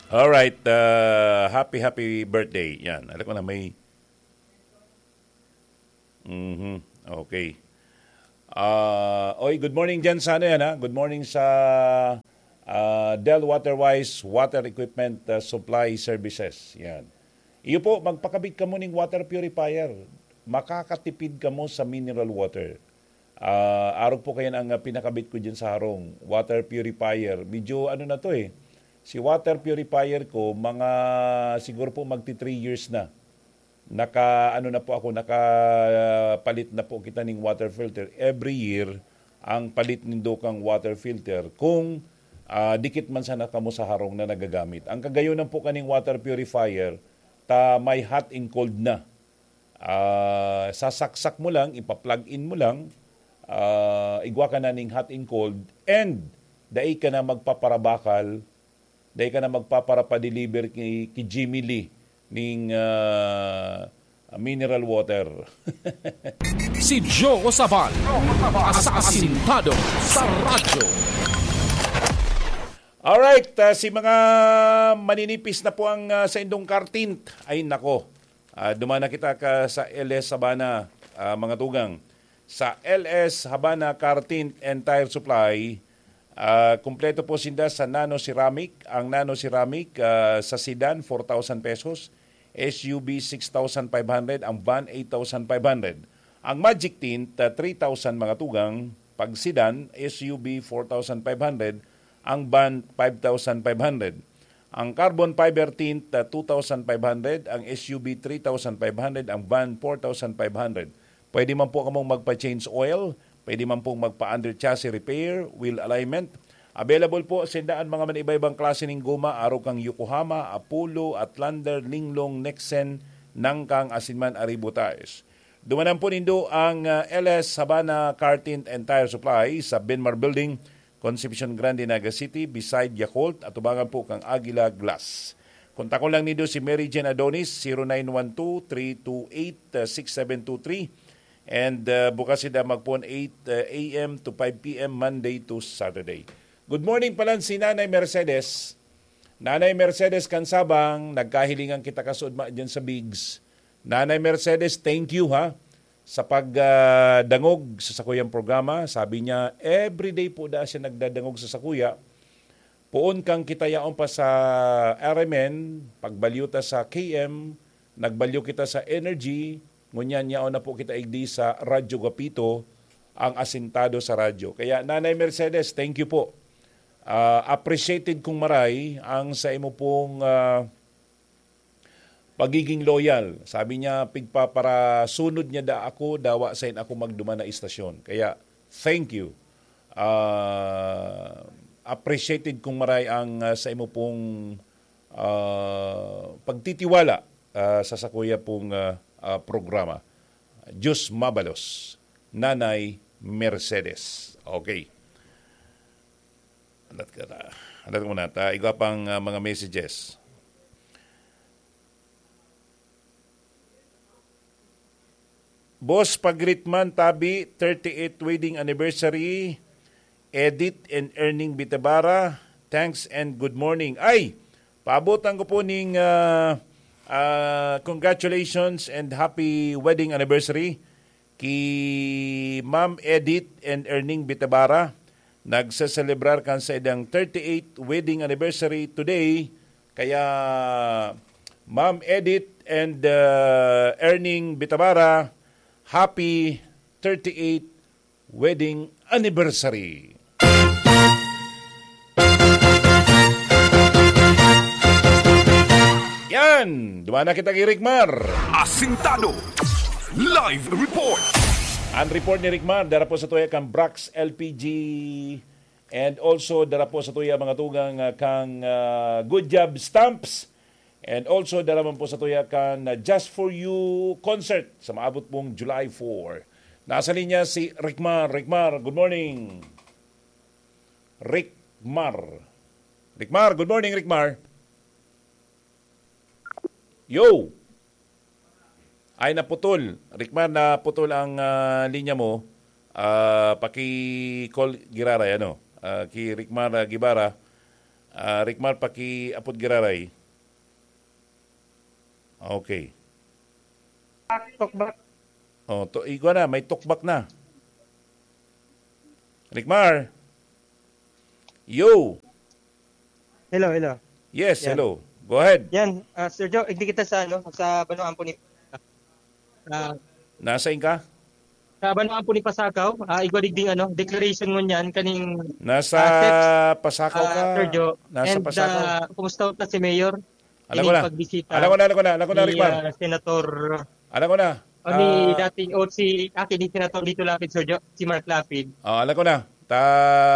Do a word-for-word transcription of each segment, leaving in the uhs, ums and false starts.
Alright, ah, happy, happy birthday. Yan, alam ko na may... Mhm, okay. Ah, oy, good morning dyan sa ano yan, ha? Good morning sa, ah, Del Waterwise Water Equipment, ah, Supply Services. Yan. Iyo po, magpakabit kamo ning water purifier. Makakatipid kamo sa mineral water. Ah, arog po kayan ang, ah, pinakabit ko dyan sa harong, water purifier. Medyo ano na to eh. Si water purifier ko, mga siguro po magti three years na. Naka, ano na po ako, nakapalit na po kita ning water filter. Every year, ang palit nindo kang water filter kung, ah, dikit man sana kamo sa harong na nagagamit. Ang kagayonan po kaning water purifier, ta may hot and cold na. Ah, sasaksak mo lang, ipa-plug in mo lang, ah, igwa ka na ning hot and cold, and dai ka na magpaparabakal, dai ka na magpaparapadeliver ki, ki Jimmy Lee ning, ah, mineral water. Si Joe Sabal, asasintado sa radyo. Alright, ah, si mga maninipis na po ang, ah, sa indong car tint. Ay, nako. Ah, dumana kita ka sa L S Habana, ah, mga tugang. Sa L S Habana Car Tint and Tire Supply, ah, kumpleto po sinda sa nano ceramic. Ang nano ceramic, ah, sa sedan, four thousand pesos. S U V, six thousand five hundred. Ang van, eight thousand five hundred. Ang magic tint, ah, three thousand mga tugang. Pag sedan, S U V, four thousand five hundred. Ang van, five thousand five hundred. Ang carbon fiber tint, ah, two thousand five hundred, ang S U V three thousand five hundred, ang van four thousand five hundred. Pwede man po kamong magpa-change oil, pwede man pong magpa-under chassis repair, wheel alignment. Available po sinda an mga man-iba-ibang klase ning goma, arog kan Yokohama, Apollo, Outlander, Linglong, Nexen, Nangkang, asin man Arribo Tires. Dumanan po nindo ang, ah, L S Habana Car Tint and Tire Supply sa Benmar Building, Concepcion Grande, Naga City, beside Yakult, atubangan po kan Aguila Glass. Kontakon lang nindo si Mary Jane Adonis, zero nine one two, three two eight, six seven two three. And, ah, bukas sinda magpoon eight, ah, A M to five P M, Monday to Saturday. Good morning pala si Nanay Mercedes. Nanay Mercedes Cansabang, nagkahilingan kita kasudma dyan sa Bigs. Nanay Mercedes, thank you ha, sa pag, ah, dangog sa sakuyang programa. Sabi niya, everyday po da siya nagdadangog sa sakuya. Poon kang kita yaon pa sa R M N, pagbalyo ta sa K M, nagbalyo kita sa Energy, ngunyan yaon na po kita igdi sa Radyo Gapito, ang asintado sa radyo. Kaya, Nanay Mercedes, thank you po. Ah, appreciated kong maray ang sa imo pong, ah, pagiging loyal. Sabi niya, pigpaparasunod niya da ako, dawa sain ako magduman na istasyon. Kaya, thank you. Ah, appreciated kong maray ang, ah, sa imo pong, ah, pagtitiwala, ah, sa sakuya pong, ah, ah, programa. Diyos mabalos, Nanay Mercedes. Okay. Andat ka na. Andat ko muna ta. Igwa pang, ah, mga messages. Boss, pag-greet man, tabi, thirty-eighth wedding anniversary, Edith and Erning Bitabara. Thanks and good morning. Ay, paabotan ko po ning, ah, ah, congratulations and happy wedding anniversary ki Ma'am Edith and Erning Bitabara. Nagseselebrar kan saindang thirty-eighth wedding anniversary today. Kaya, Ma'am Edith and, uh, Erning Bitabara, happy thirty-eighth wedding anniversary. Yan! Duman na kita ki Rick Mar. Asintado. Live report. Ang report ni Rick Mar, dara po sa tuya kang Brax L P G. And also, dara po sa tuya, mga tugang, ah, kang, ah, Good Job Stamps. And also, dara man po sa tuya kan, ah, Just For You concert sa maabot pong July four. Nasa linya si Rick Mar. Rick Mar, good morning. Rick Mar. Rick Mar, good morning, Rick Mar. Yo! Ay, naputol. Rick Mar, naputol ang, ah, linya mo. Ah, paki-call giraray, ano? Ah, ki Rick Mar, ah, Guevara. Ah, Ricmar, pakiapod giraray. Okay. Talk back. Oh, to, igwa na, may talk back na. Ricmar. Yo. Hello, hello. Yes, Yan. hello. Go ahead. Yan, ah, Sir Joe, igdi kita sa, ano, sa Banwaan po ni, ah, Nasa inka? Sa Banwaan po ni Pasakaw, ah, igwa digding, ano, declaration ngunyan kaning, Nasa ah, steps, Pasakaw ah, ka? Sir Joe. Nasa And, Pasakaw. ah, kumusta ta si Mayor? Alam ko Ining na. pagbisita Alam ko na, alam ko na, alam ko na, ni, Ricmar. ah, Senator, Alam ko na. o ni Ah, dating, o si, ah, kini Senator Lito Lapid, Sir Joe, si Mark Lapid. ah, alam ko na. Ta,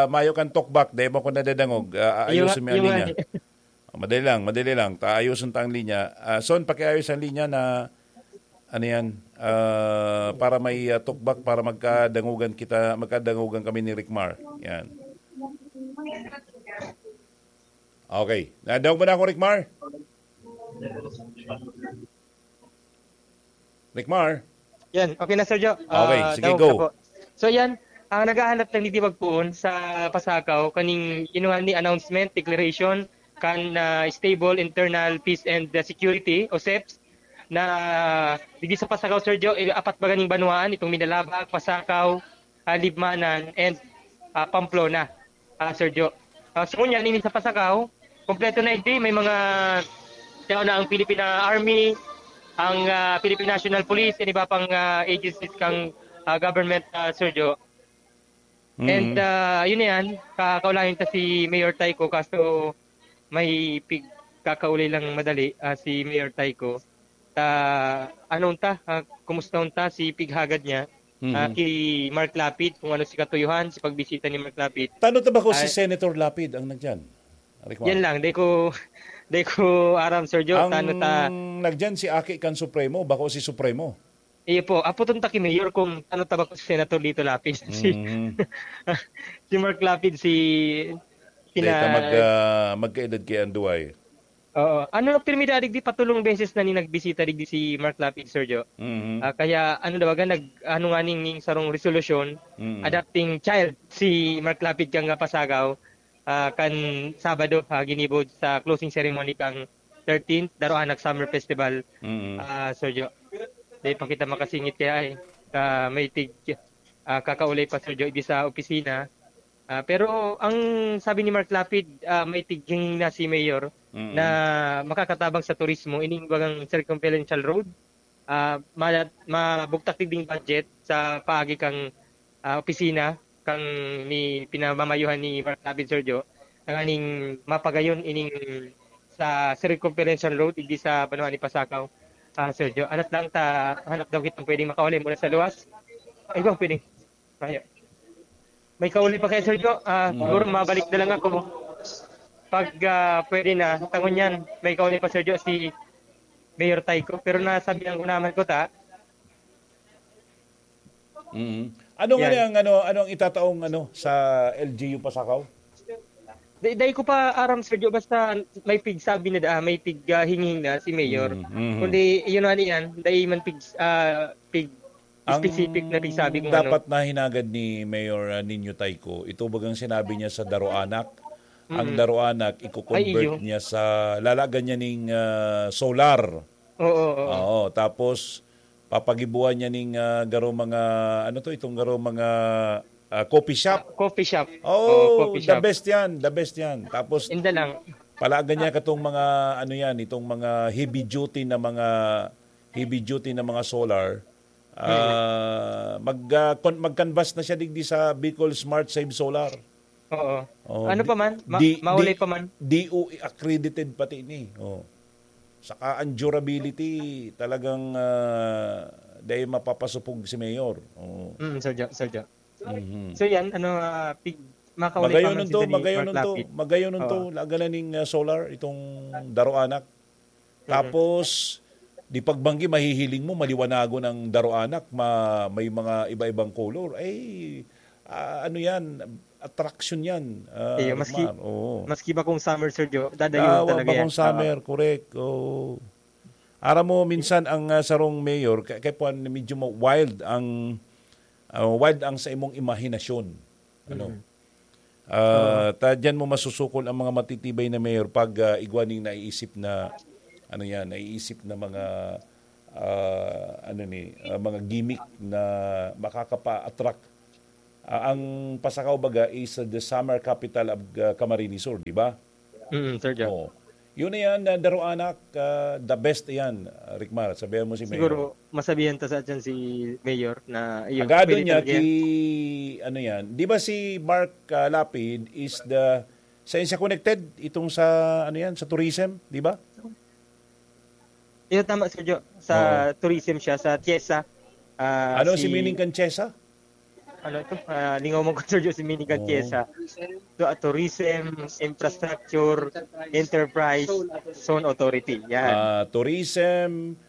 mayo kan talk back, dahil mo ko nadadangog. Ah, Yung, ayusin mo ang yung, linya. ah, Ah, madali lang, madali lang. Ta, ayusin ta ang linya. Ah, Son, pakiayos ang linya na, ano yan, ah, para may, ah, talk back, para magkadangugan kita, magkadangugan kami ni Ricmar. Yan. Okay. Nadangog mo na ako, Ricmar? Ricmar? Yan, okay na, Sir Joe. Okay, Ah, sige, dangog go. na po. So, yan, ang naghahanap ng nitiwag poon sa Pasakaw, kaning kinuha ni announcement, declaration, kan, ah, Stable Internal Peace and, ah, Security o seps, na digdi sa Pasakaw, Sir Joe, eh, apat ba ganing banwaan, itong Minalabac, Pasakaw, ah, Libmanan, and, ah, Pamplona, ah, Sir Joe. Ah, so, ngunyan, ini sa Pasakaw, kompleto na, hindi, may mga tao na ang Philippine Army, ang, ah, Philippine National Police, and iba pang, ah, agencies kang, ah, government, ah, Sir Joe. And, Mm. ah, yun na yan, ka-, kaulayan ta si Mayor Tyco, kaso may pig-, kakaulay lang madali, ah, si Mayor Tyco. Ta, ano unta, ah, kumusta unta si pighagad niya, ah, Mm. ki Mark Lapid, kung ano si katuyuhan, si pagbisita ni Mark Lapid. Tano ta ba ko si Ay. Senator Lapid ang nagdiyan? Ricmar? Yan lang, di ko, di ko aram, Sir Joe, Ang tano ta nagdiyan si Aki kan Supremo, bako si Supremo. Iyo po, apoton ta ki Mayor kung tano ta ba ko si Senator Lito Lapid. Si, Mm. si Mark Lapid, si Dahil ta pina- mag, ah, magkaedad kay Anduay. Oo. Ano, pirmi dadig di patulong beses na ni nagbisita digdi si Mark Lapid, Sir Joe. Mhm. Ah, kaya ano daw, aga, nag-, ano nga ning, ning sarong resolusyon, Mhm. adopting child si Mark Lapid kan nga Pasakaw, ah, kan Sabado, ah, ginibo sa closing ceremony kan thirteenth Daroanak Summer Festival, Mhm. ah, Sir Joe. Di pa kita makasingit kaya ay, ah, may tig-, ah, kakaulay pa, Sir Joe, di sa opisina. Ah, pero ang sabi ni Mark Lapid, ah, may tiging na si Mayor Mm. na makakatabang sa turismo, ining bagang circumferential road. Ah, ma-, mabugtak digding budget sa paagi kang, ah, opisina kang ni pinamamayuhan ni Mark Lapid, Sir Joe, tanganing mapagayon ining sa circumferential road, digdi sa banwa ni Pasakaw, ah, Sir Joe. Anat lang ta, hanap daw kitang pwedeng makauli mula sa luwas. Ay, bang pwedeng? Ayo. May kauli pa kay Sir Joe. Ah, Mm. siguro mabalik na lang ako. Pag, ah, pwede na, tangon yan, may kauli pa, Sir Joe, si Mayor Tyco. Pero nasabihan ko naman ko ta. Mm. Ano nga Yan. ang, ano, ano ang itataong, ano, sa L G U Pasakaw? Di, dai ko pa aram, Sir Joe, basta may pigsabi na da, may pig, ah, hinging na si Mayor. Mm, mm. Kundi, yun nga niyan, dai man pig, ah, pig Ang specific na pigsabi kung dapat ano. Nahinagad ni Mayor, ah, Nino Tyco, ito bagang sinabi niya sa Daroanak. Ang Mm. Daroanak, iko-convert Ay, iyo. niya sa, lalagan niya ning, ah, solar. Oo, oo. Oo, tapos papagibuan niya ning, ah, garo mga, ano to, itong garo mga, ah, coffee shop. Ah, coffee shop. Oh, Oo, coffee the shop. best yan, the best yan. Tapos, Inda lang. palagan niya katong mga, ano yan, itong mga heavy duty na mga, heavy duty na mga solar. Ah, mag, ah, con-, mag-canvas na siya digdi sa Bicol Smart Save Solar. Oo. Oh, Ano di, pa man? Ma-, di, maulay di, pa man? D O E accredited pati ni. Oh. Saka ang durability, talagang, ah, dahil mapapasupog si Mayor. Oh. Mm, Sir Jo, Sir Jo. Mhm. So yan, ano, ah, pig-, makauli pa Magayon man nung si to, Dani magayon Mark nung to, Lapid. magayon nung Oo. to, laga na ning, ah, solar, itong Daroanak. Mhm. Tapos, di pagbanggi, mahihiling mo, maliwanagon ang Daroanak, ma-, may mga iba-ibang color. Ay, ah, ano yan, attraction yan, ah, Iyo, maski, Ricmar. Oo. maski ba kung summer, Sir Jo, dadayon Ah, wa talaga ba yan. kung summer, Oo. correct. Oo. Aram mo, minsan ang, ah, sarong mayor, kay, kay Puan, medyo ma-, wild ang, ah, wild ang sa imong imahinasyon. Ano? Mhm. Ah, ta diyan mo masusukol ang mga matitibay na mayor pag, ah, igwa ning naiisip na, ano yan, naiisip na mga, ah, ano ni, ah, mga gimmick na makakapa-attract. Ah, ang Pasacao baga is the summer capital of, ah, Camarines Sur, di ba? Mm, Sir Joe. Oo. Yun na yan, ah, Daroanak, ah, the best yan, ah, Ricmar. Sabihan mo si Mayor. Siguro, masabihan ta sa dyan si Mayor na iyo. Agado Pwede niya talaga ki, yan. Ano yan, di ba si Mark, ah, Lapid is the, saan siya connected? Itong sa, ano yan, sa tourism, di ba? Iyo, tama, Sir Joe. Sa tourism siya, sa Tiesa. Ah, Ano si si meaning kan Chesa? Ano ito? Ah, lingaw mo ko, Sir Joe, si meaning kan Oo. Tiesa. So, ah, tourism, infrastructure, enterprise, zone authority. Yan. Ah, tourism,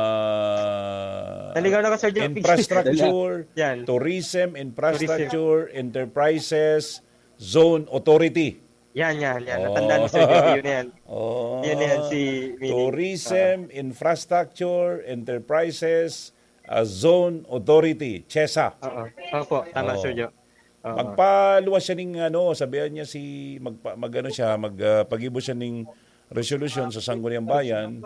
ah, Naligaw na ka, Sir Joe. infrastructure, Yan. tourism, infrastructure, enterprises, zone authority. Yan, yan, yan. Natandaan mo, Sir Joe. Yun na yan. Oh. Yun na yan, si meaning. Tourism, infrastructure, enterprises, ah, zone authority, Chesa. Oo. Opo, tama, Oo. Sir Joe. Oo. Magpaluwas siya ning ano, sabihan niya si magpa, magano siya, mag ah, pag-ibo siya ning resolution sa Sangguniang Bayan,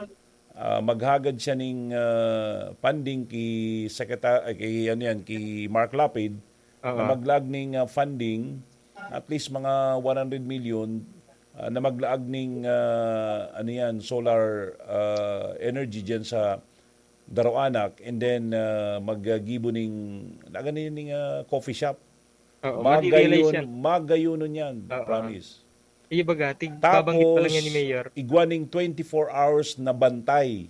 ah, maghagad siya ning ah, funding ki secretary, kay ano yan, ki Mark Lapid, na Oo. maglaag ning ah, funding, at least mga one hundred million, ah, na maglaag ning ah, ano yan, solar ah, energy diyan sa Daroanak, and then ah, maggibo ning, lagan ning ah, coffee shop. Oo, mali-realize Magayon, yan. Magayonon yan, Oo. Promise. Iyo baga, tig, babanggit pa lang yan ni Mayor. Igwa ning twenty-four hours na bantay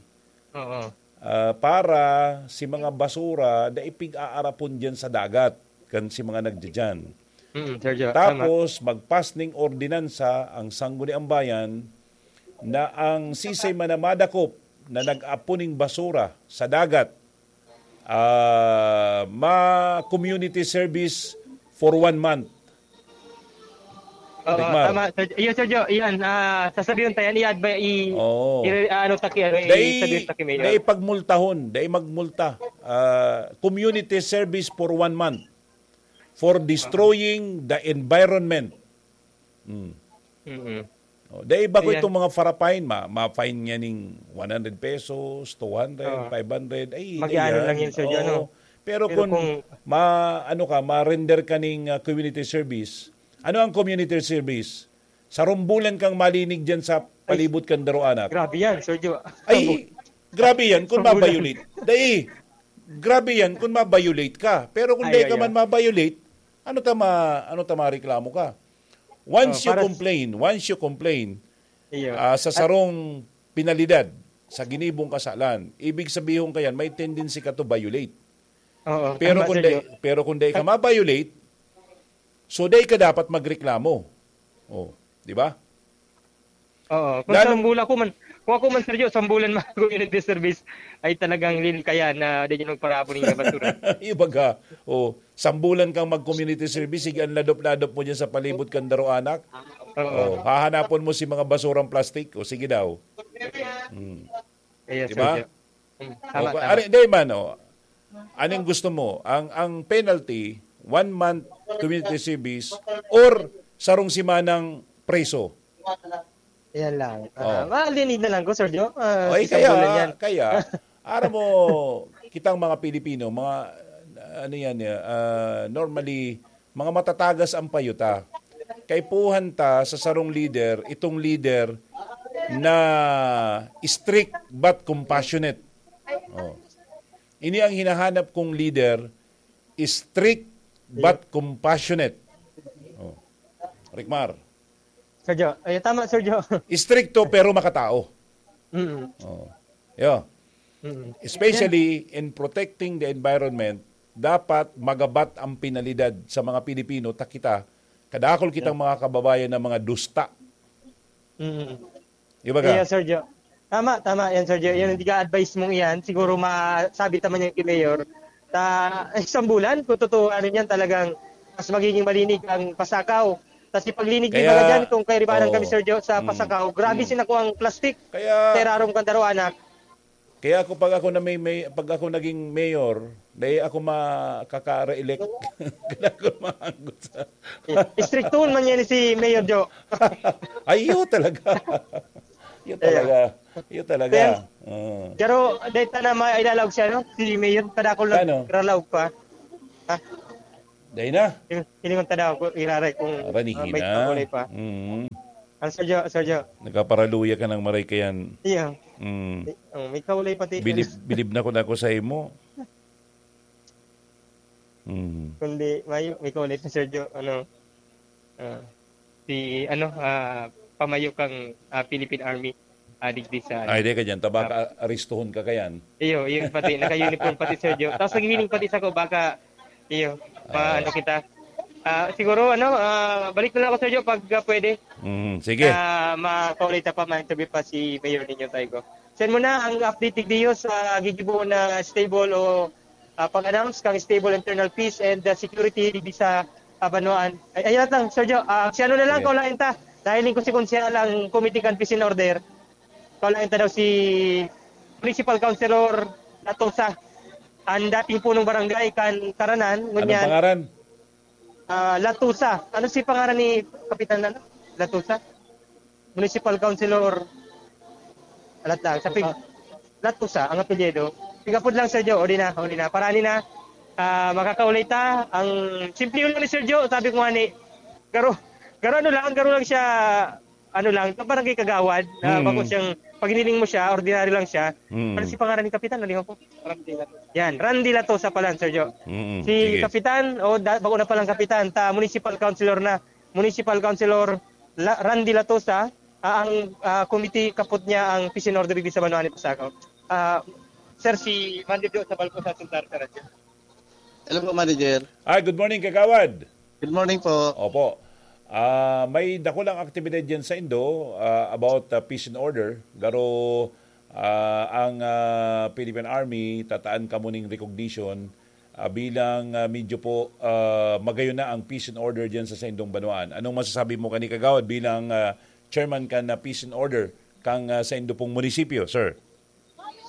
Oo. ah, para si mga basura na ipig-aarapon diyan sa dagat kan si mga nagdidiyan. Mm, Sir Joe, tama. Tapos, magpas ning ordinansa ang Sangguniang Bayan na ang sisay man na madakop na nag-apon ning basura sa dagat, ah, ma-community service for one month. Oo, Ricmar. Tama, Sir, iyo, Sir Joe, iyan, ah, sasabihin tayo, i-advise, i, Oo. i, ano, taki, ano, Dai, sabihin taki, Mayor. Dai pagmultahon, dai magmulta. Ah, community service for one month for destroying the environment. Mm. Mm-mm. Oh, dai ba ko Ayan. Itong mga fara-fine, ma, ma-fine niya ning one hundred pesos, two hundred, Oo. five hundred. Ay, Mag-ano dai lang yan, Sir Joe, Oo. ano? Pero, Pero kung, kung ma, ano ka, ma-render ka ning ah, community service, ano ang community service? Sarong bulan kang malinig diyan sa palibot kan Daroanak. Grabe yan, Sir Joe. Ay, grabe yan kung Sarong bulan. ma-violate. Dai, grabe yan kung ma-violate ka. Pero kung Ay, dai ka ay, man ay. ma-violate, ano ta ma, ano ta mareklamo ka? Once Oh, you para s- complain, once you complain, Iyo. ah, sa sarong penalidad, sa ginibong kasalan, ibig sabihon ka yan, may tendency ka to violate. Oo, Pero tama, kung Sir dai, Joe. pero kung dai ka ma-violate, so dai ka dapat magreklamo. Oh, di ba? Oo, kung Lalo- sambulan ko man, kung ako man, Sir Joe, sambulan man community service, ay talagang lin kaya na di nyo magparapon yung basura. Ibaga, oh, sambulan kang mag-community service, sige, ang ladop-ladop mo dyan sa palibot kan Daroanak. Oo. Oh, hahanapon mo si mga basurang plastic. O, sige daw. Hmm. Yes, Di ba? Sir Joe. Hmm, tama, O, tama. Ari, di man, oh. Anong gusto mo? Ang ang penalty, one month community service or sarong simanang preso? Yan lang. Oh. Ah, malinig na lang ko, Sir Joe. Ah, Oy, isang bulan kaya, yan. Kaya, aram mo, kitang mga Pilipino, mga, ano yan, eh, ah, normally, mga matatagas ang payo ta. Kaipuhan ta sa sarong leader, itong leader na strict but compassionate. Oh. Ini ang hinahanap kong leader, strict but compassionate. Oh. Ricmar. Sir Joe. Ay, tama, Sir Joe. Istrikto pero makatao. Mm. Oh. Yo. Mm. Especially in protecting the environment, dapat magabat ang penalidad sa mga Pilipino, ta kita, kadakol kitang mga kababayan na mga dusta. Mm. Di ba ka? Yes, Sir Joe. Tama, tama yan, Sir Joe. Yung advice mong iyan, siguro masabi naman yan kay Mayor. Ta, isang bulan, kung totoo, ano yan, talagang mas magiging malinig ang Pasacao. Kasi paglinig ni Kaya, mga dyan, kung kairibanan oo. kami, Sir Joe, sa Mm. Pasacao, grabe Mm. sinakuha ang plastic Kaya, sa irarom kan Daroanak. Kaya ako, pag ako na may, may pag ako naging mayor, Dai ako makaka-re-elect. Kailangan ko maanggot sa Istriktuhon man yan si Mayor Jo. Ay, iyo talaga. Iyo talaga. Iyo talaga. Pero, Oo. pero, dahil ta na mailalaog siya, no? Si Mayor, padakol na Ano? ralaog pa. Ha? Dai na. Hiling-, hilingon ta daw, kung iraray kung, Aranihin ah, may na. kaulay pa. Mm. Ang Sergio, Sergio. Nagkaparaluya ka ng maray kayan. Iya. Mm. May, oh, may kaulay pati. Bilib, bilib na ko na ako sa imo. Mm. Kundi, may, may kaulay pa, Sergio. Ano, ah, si, ano, ah, pamayo kang, ah, Philippine Army, ah, digdi sa, ano. Ay, di ka dyan. Tabaka, Ah. aristuhon ka kayan. Iyo, iyo pati. Naka-uniform pati, Sergio. Tapos naghihiling pati sa ko, baka, iyo, Ah. maano kita. Ah, siguro, ano, ah, balik na lang ako, Sergio, pag, ah, pwede. Mm, sige. Ah, makaulay ta pa, ma-interview pa si Mayor ninyo, Taigo. Send mo na ang update, Tigdiyo, sa gigibo na stable o, ah, pag-announce kang stable internal peace and, ah, security digdi sa, ah, banwaan. Ay, ayun lang, Sergio. Ah, si ano na lang, Sige. kaulayan ta. Dahil ko si Konsehal ang committee kan peace and order. Kaulayan ta daw si Municipal Councilor Latosa, ang dating punong barangay kan Taranan, Anong ngunyan, pangaran? ah, Latosa. Ano si pangaran ni Kapitan, ano? Latosa? Municipal Councilor. Alat lang. Sa pig-, Latosa, ang apelyido. Pigapod lang, Sergio. O di na, o di na. Para ni na, ah, makakaulay ta. Ang simple yun ni Sergio, sabi ko nga ni, garo, garo ano lang, garo lang siya, ano lang, sa barangay kagawad, na Mm. bako siyang, pag hiniling mo siya, ordinary lang siya. Mm. Ano si pangaran ni Kapitan? Nalimutan ko. Yan, Randy Latosa pala, Sergio. Mm, Si sige. Kapitan, o da, bako na palang Kapitan, ta municipal councilor na. Municipal Councilor La, Randy Latosa, ah, ang, ah, committee kapot niya ang peace and order digdi sa Banwaan ni Pasakaw. Ah, sir, si Manlibyo sa Balko sa Cesar Carajo. Hello po, Manager. Ay, good morning, Kagawad. Good morning po. Opo. Ah, may dakulang aktibidad dyan sa Indo, ah, about, ah, peace and order. Garo, ah, ang, ah, Philippine Army, tataan kamo ning recognition, ah, bilang, ah, medyo po, ah, magayon na ang peace and order dyan sa saindong banwaan. Anong masasabi mo kani, Kagawad, bilang, ah, chairman kan, ah, peace and order kang, ah, saindo pong munisipyo, sir?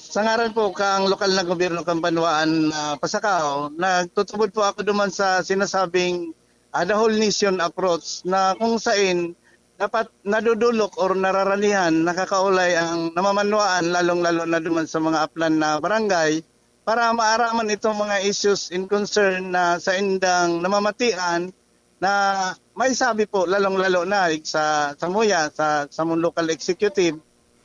Sa ngaran po kang lokal na gobyerno kan banwaan, ah, Pasacao, nagtutubod po ako duman sa sinasabing, ah, the whole nation approach na kung sain dapat nadudulok or nararanihan, nakakaulay ang namamanwaan, lalong-lalo na duman sa mga aplan na barangay, para maaraman itong mga issues in concern na saindang namamatian na may sabi po, lalong-lalo na sa, sa MOYA, sa, sa mong local executive,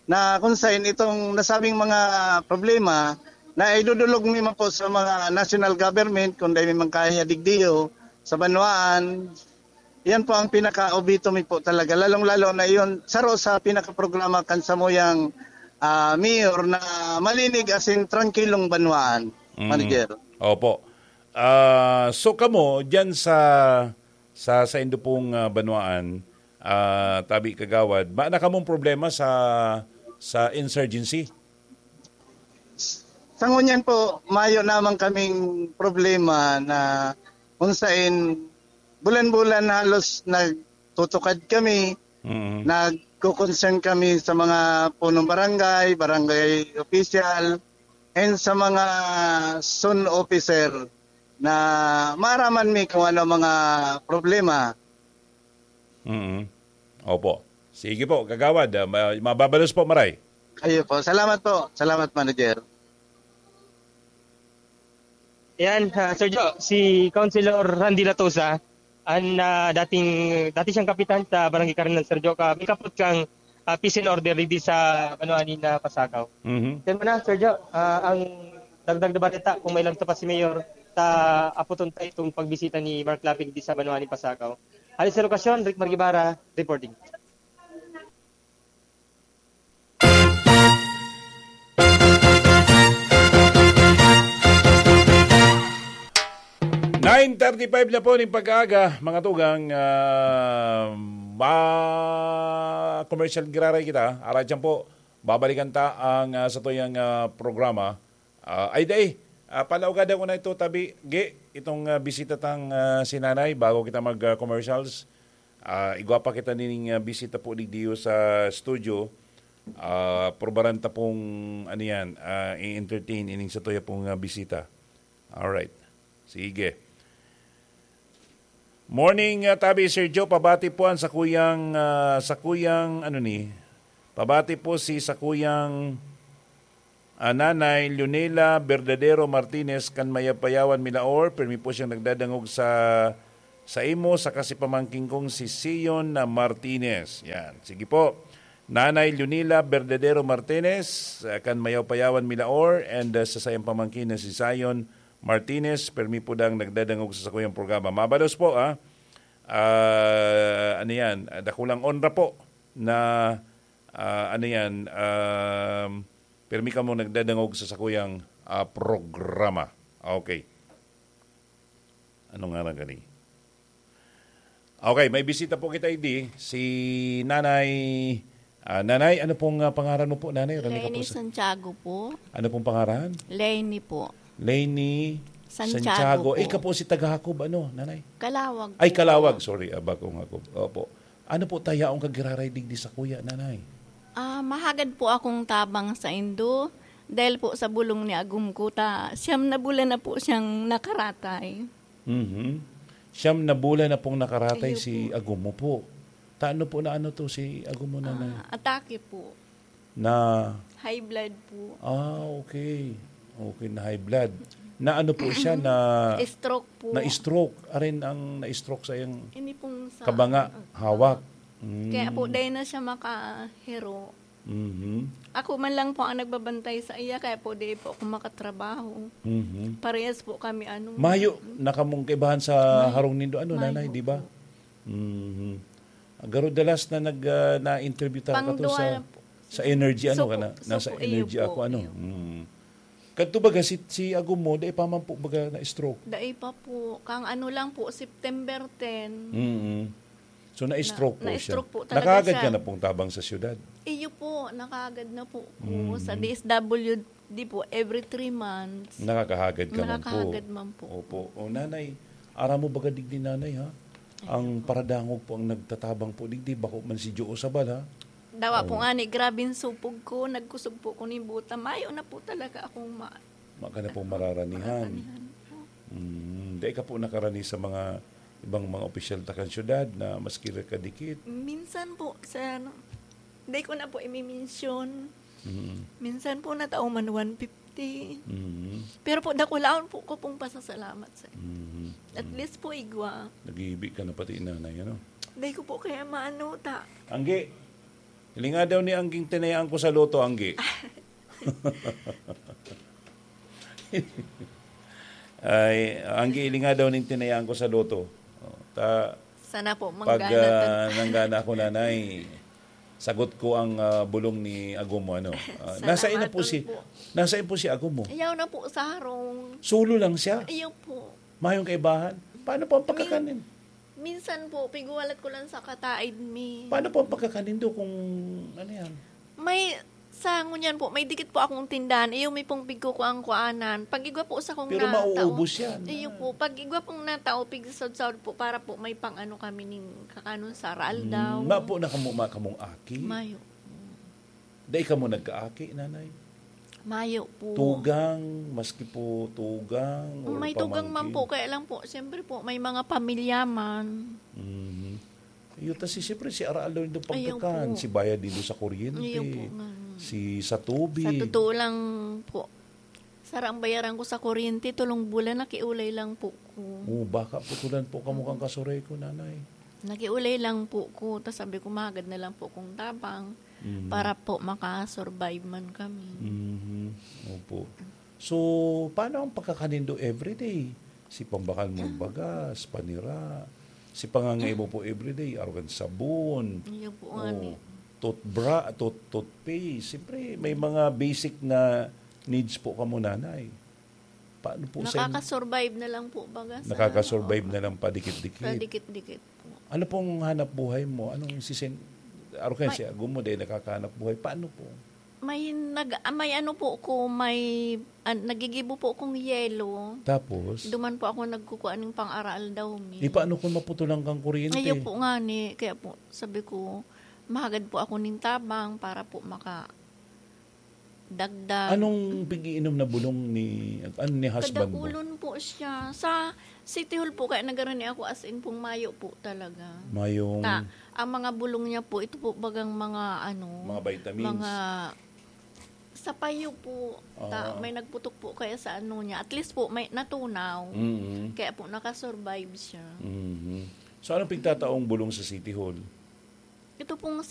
na kung sain itong nasabing mga problema na idudulog mi man po sa mga national government, kung dai mi man kaya digdiyo, sa banwaan, yan po ang pinaka-obito mi po talaga. Lalong-lalo na yun, saro sa pinaka-programa kan samuyang, ah, mayor na malinig asin trangkilong banwaan, Mm. Manager. Opo. Ah, so kamo, dyan sa, sa, saindo pong, ah, banwaan, ah, tabi kagawad, mayo na kamong problema sa, sa insurgency? Sa ngunyan po, mayo naman kaming problema na kung sain bulan-bulan halos nagtutukad kami, Mm. nagko-concern kami sa mga punong barangay, barangay official, and sa mga zone officer na maaraman mi kung ano mga problema. Mm. Opo. Sige po, Kagawad. Ah, ma-, mababalos po, maray. Kayo po. Salamat po. Salamat, Manager. Yan, ah, Sir Jo, si Councilor Randy Latosa, ang, ah, dating, dati siyang kapitan sa Barangay Karanan, Sir Jo, ka, may kapot kang, ah, peace and order digdi sa banwaan ni na Pasakaw. Mhm. Yan muna, Sir Jo, ah, ang dagdag na balita, kung may lang pa si Mayor, sa aputon tayo itong pagbisita ni Mark Lapig di sa banwaan ni Pasakaw. Alis sa lokasyon, Rick Margibara, reporting. Nine thirty-five na po ning pag-aaga, mga tugang, ah, ma-, commercial giraray kita. Arat yan po, babalikan ta ang, ah, satuyang, ah, programa. Ah, ay, dai. Ah, palaugadan ko na ito, tabi. Gi, itong, ah, bisita tang, ah, si Nanay, bago kita mag, ah, commercials. Ah, igwa pa kita nining, ah, bisita po digdiyo sa studio. Ah, prubaran ta pong, ano yan, ah, i-entertain ining satuya pong, ah, bisita. Alright. Sige. Morning, ah, Tabi, Sir Joe. Pabati po ang sakuyang, ah, sakuyang, ano ni? Pabati po si sakuyang, ah, Nanay Leonela Verdadero Martinez kan Mayapayawan, Milaor. Permi po siyang nagdadangog sa, sa imo, sa kasi pamangkin kong si Sion na Martinez. Yan. Sige po. Nanay Leonela Verdadero Martinez, ah, kan Mayapayawan, Milaor, and, ah, sa sayang pamangkin na si Zion Martinez, permi po dang nagdadangog sa sakuyang programa. Mabalos po, ah. Ah, ano yan? Ah, dakulang onra po na, ah, ano yan? Um, permi kamo nagdadangog sa sakuyang, ah, programa. Okay. Ano nga lang gani? Okay, may bisita po kita, idi. Si Nanay, ah, Nanay, ano pong, ah, pangaran mo po, Nanay? Rami ka po Leni sa Santiago po. Ano pong pangaran? Leni po. Leni Santiago Santiago. po. Eh, ka po si taga Hakob, ano, Nanay? Kalawag Ay, po. Kalawag. Sorry, ah, bagong Hakob. Opo. Ano po ta yaong kagiraray digdi sa kuya, Nanay? Ah, mahagad po akong tabang sa indo dahil po sa bulong ni agom ko ta siyam na bulan na po siyang nakaratay. Mhm. Siyam na bulan na pong nakaratay Ayun si po. agom mo po. Taano po na ano to si agom mo, Nanay? Ah, atake po. Na High blood po. Ah, okay. Okay, na high blood. Na ano po siya, na Stroke po. na-stroke. Arin ang na-stroke sa iyang Ini pong sa kabanga, ah, hawak. Mm. Kaya po, dahil na siya makahiro. Mhm. Ako man lang po ang nagbabantay sa iya, kaya po di po ako makatrabaho. Mhm. Parehas po kami, ano, Mayo, nakamong kaibahan sa Mayo. harong nindo, ano, Mayo Nanay, di ba? po. Mhm. Garo dalas na nag, ah, na-interview ta Pang kato duwa sa, na po. sa energy, ano Supo, ka na? Nasa supo, iyo energy po, ako, ano? iyo. Mm. Kadto baga si, si agom mo, dai pa man po baga na-stroke? Dai pa po. Kang ano lang po, September ten. Mm. So, na-stroke Na- po siya. na-stroke po talaga Nakagad siya. ka na pong tabang sa syudad? Iyo po, nakagad na po ko Mm. sa D S W D po, every three months. Nakakahagad ka man po. Nakakahagad man po. Opo. O, Nanay, aram mo baga digdi, Nanay, ha? Ang Ayun po. paradangog po ang nagtatabang po digdi, bako man si Joe Sabal, ha? Dawa po Oo. nga ni, grabing supog ko, nagkusog po ko ni buta. Mayo na po talaga akong ma- Maka na pong mararanihan. Mararanihan po. Mm, dai ka po nakarani sa mga ibang mga opisyal ta kan syudad na maski ra kadikit? Minsan po, sir, dai ko na po imimensyon. Mm. Minsan po, natao man one fifty. Mm. Pero po, dakulaon po ko pong pasasalamat, sir. Mm. At Mm. least po, igwa. Naghihibi ka na pati, Nanay, ano? Dai ko po kaya maano, ta. Anggi, hilinga daw ni Angging tinayaan ko sa loto, Anggi. Ay, Anggi, hilinga daw ning tinayaan ko sa loto. Oh, ta, Sana po, pag, manggana ta. ah, nanggana ako, Nanay, sagot ko ang, ah, bulong ni agom mo, ano. Ah, Salamat nasa ina po si, po. nasa po si agom mo? Ayaw na po sa harong. Solo lang siya? Ayaw po. Mayong kaibahan? Paano po ang Min- pagkakanin? Minsan po, pigwalat ko lang sa kataid mi. Paano po ang pagkakanin do kung ano yan? May, sa ngunyan po, may dikit po akong tindahan. Iyo, may pong pigkukuang kuanan. Pag igwa po sa kong Pero natao. mauubos yan. Iyo po, pag igwa pong natao, pigsasaod-saod po para po may pang ano kami ning kakanon sa raaldaw. Mm, ma po na kamo, ma kamong aki? Mayo. Dai kamo nagkaaki, Nanay? Mayo po. Tugang, maski po tugang, or May tugang man pamangkin? po, kaya lang po, siyempre po, may mga pamilya man. Mhm. Iyo, tas si, siyempre, si araal daw nindo Ayaw pagkakan, po. si bayad nindo sa kuryente, Ayaw po nga. si sa tubig. Sa totoo lang po, sarang bayaran ko sa kuryente, tulong bulan, nakiulay lang po ko. Oh, baka putulan po kamo kang Mm. kasuray ko, Nanay. Nakiulay lang po ko, tas sabi ko, "Mahagad na lang po kong tabang Mhm. para po makasurvive man kami." Mhm. Opo. So, paano ang pagkakanindo everyday? Si pambakal mo bagas, panira, si pangangay mo po everyday, arugan sabon, Iyo po, oh, ani. toothbra-, tooth-, toothpaste. Siyempre, may mga basic na needs po kamo, Nanay. Paano po sa in- Nakakasurvive na lang po, baga, sa Nakakasurvive ano, na lang padikit-dikit. padikit-dikit po. Ano pong hanap buhay mo? Anong sisin-, arugan May si agom mo, dahil nakakahanap buhay. Paano po? May nag-, ah, may ano po ko, may, ah, nagigibo po kong yelo. Tapos? Duman po ako nagkukuha ng pang-aral daw mi. Eh, paano kung maputulan kang kuryente? Ayaw po nga ni, kaya po, sabi ko, mahagad po ako ning tabang para po maka-, dagdag. Anong pag-iinom na bulong ni, ano, ni husband mo? Kadakulon po siya. Sa City Hall po, kaya nagkaroon ako, as in pong mayo po talaga. Mayong... Ta, ang mga bulong niya po, ito po bagang mga ano, Mga vitamins. Mga sa payo po. Ta, Ah. May nagputok po kaya sa ano niya. At least po, may natunaw. Mhm. Kaya po, nakasurvive siya. Mhm. So, anong pigtataong bulong sa City Hall? Ito pong